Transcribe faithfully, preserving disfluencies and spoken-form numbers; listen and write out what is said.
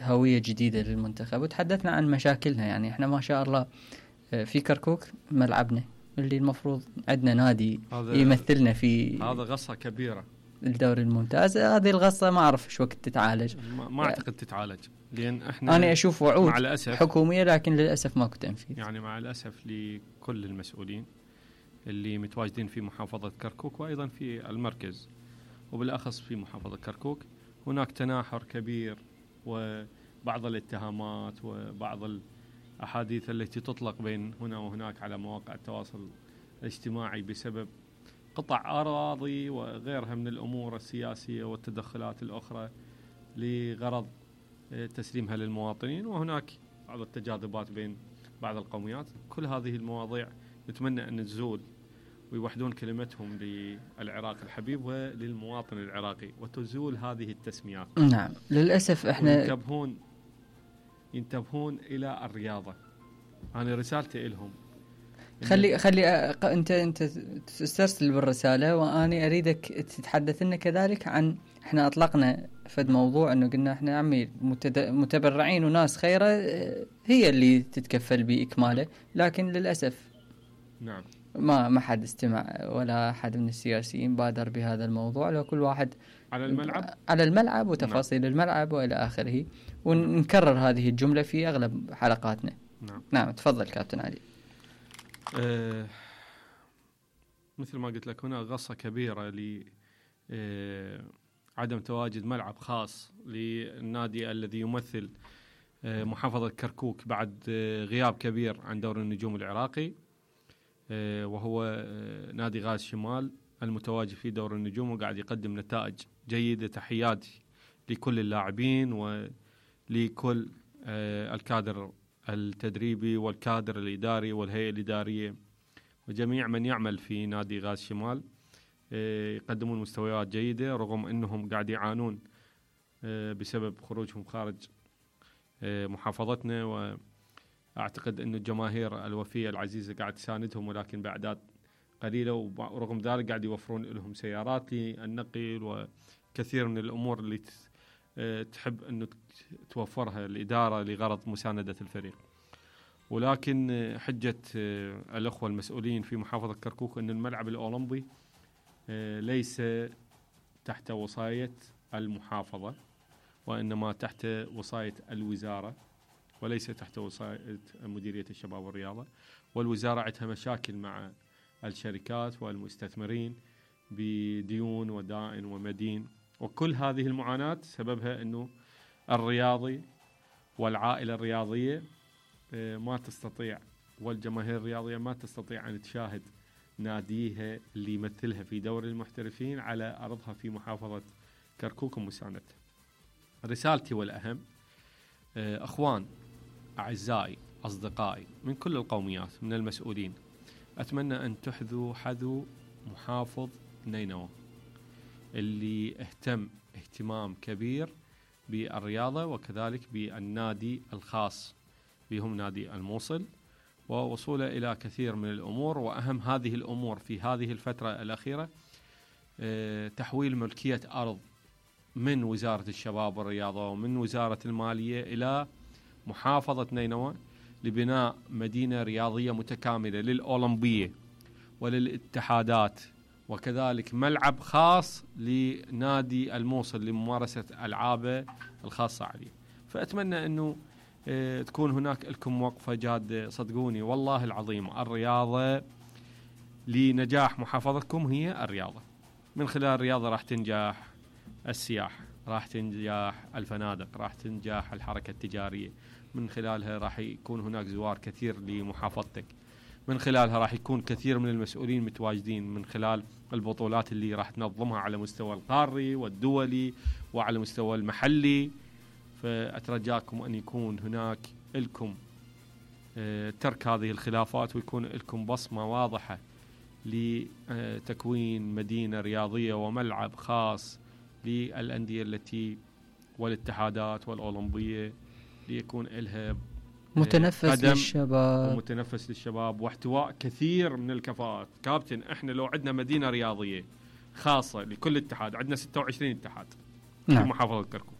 هوية جديدة للمنتخب، وتحدثنا عن مشاكلنا. يعني احنا ما شاء الله في كركوك ملعبنا اللي المفروض عندنا نادي يمثلنا في، هذا غصة كبيرة الدوري الممتاز. هذه الغصة ما أعرف شو وقت تتعالج، ما, ما أعتقد تتعالج، لأن إحنا أنا أشوف وعود حكومية لكن للأسف ماكو تنفيذ. يعني مع الأسف لكل المسؤولين اللي متواجدين في محافظة كركوك وأيضا في المركز وبالأخص في محافظة كركوك، هناك تناحر كبير وبعض الاتهامات وبعض الأحاديث التي تطلق بين هنا وهناك على مواقع التواصل الاجتماعي بسبب قطع أراضي وغيرها من الأمور السياسية والتدخلات الأخرى لغرض تسليمها للمواطنين، وهناك بعض التجاذبات بين بعض القوميات. كل هذه المواضيع نتمنى أن تزول ويوحدون كلمتهم للعراق الحبيب وللمواطن العراقي، وتزول هذه التسميات. نعم للأسف احنا ينتبهون ينتبهون إلى الرياضة. أنا رسالتي لهم خلي خلي أ... انت انت تسترسل بالرساله، واني اريدك تتحدث لنا كذلك عن، احنا اطلقنا فد موضوع انه قلنا احنا عمي متد... متبرعين وناس خيره هي اللي تتكفل باكماله، لكن للاسف نعم ما ما حد استمع ولا احد من السياسيين بادر بهذا الموضوع. لو كل واحد على الملعب على الملعب وتفاصيل نعم. الملعب والى اخره، ونكرر هذه الجمله في اغلب حلقاتنا. نعم نعم تفضل كابتن علي. أه مثل ما قلت لك، هنا غصة كبيرة لعدم أه تواجد ملعب خاص للنادي الذي يمثل أه محافظة كركوك بعد أه غياب كبير عن دوري النجوم العراقي، أه وهو أه نادي غاز شمال المتواجد في دوري النجوم وقاعد يقدم نتائج جيدة. تحياتي لكل اللاعبين ولكل أه الكادر التدريبي والكادر الإداري والهيئة الإدارية وجميع من يعمل في نادي غاز شمال، يقدمون مستويات جيدة رغم أنهم قاعد يعانون بسبب خروجهم خارج محافظتنا. وأعتقد أن الجماهير الوفية العزيزة قاعد تساندهم، ولكن بأعداد قليلة، ورغم ذلك قاعد يوفرون لهم سيارات للنقل وكثير من الأمور اللي تحب أنه توفرها الإدارة لغرض مساندة الفريق. ولكن حجة الأخوة المسؤولين في محافظة كركوك أن الملعب الأولمبي ليس تحت وصاية المحافظة، وإنما تحت وصاية الوزارة وليس تحت وصاية مديرية الشباب والرياضة. والوزارة عندها مشاكل مع الشركات والمستثمرين بديون ودائن ومدين، وكل هذه المعاناة سببها أنه الرياضي والعائلة الرياضية ما تستطيع، والجماهير الرياضية ما تستطيع أن تشاهد ناديها اللي يمثلها في دوري المحترفين على أرضها في محافظة كركوك ومساندتها. رسالتي والأهم، أخوان أعزائي أصدقائي من كل القوميات من المسؤولين، أتمنى أن تحذوا حذو محافظ نينوى اللي اهتم اهتمام كبير بالرياضة وكذلك بالنادي الخاص بهم نادي الموصل، ووصوله إلى كثير من الأمور. وأهم هذه الأمور في هذه الفترة الأخيرة تحويل ملكية أرض من وزارة الشباب والرياضة ومن وزارة المالية إلى محافظة نينوى لبناء مدينة رياضية متكاملة للأولمبية وللاتحادات، وكذلك ملعب خاص لنادي الموصل لممارسة ألعابه الخاصة عليه. فأتمنى أنه اه تكون هناك لكم وقفة جادة. صدقوني والله العظيم الرياضة لنجاح محافظتكم هي الرياضة. من خلال الرياضة راح تنجح السياحة، راح تنجح الفنادق، راح تنجح الحركة التجارية، من خلالها راح يكون هناك زوار كثير لمحافظتك، من خلالها راح يكون كثير من المسؤولين متواجدين، من خلال البطولات اللي راح تنظمها على مستوى القاري والدولي وعلى مستوى المحلي. فأترجاكم أن يكون هناك لكم ترك هذه الخلافات، ويكون لكم بصمة واضحة لتكوين مدينة رياضية وملعب خاص للأندية التي والاتحادات والأولمبية، ليكون لها متنفس للشباب ومتنفس للشباب واحتواء كثير من الكفاءات. كابتن، احنا لو عندنا مدينة رياضية خاصة لكل اتحاد، عندنا ستة وعشرين اتحاد نعم. في محافظة كركوك،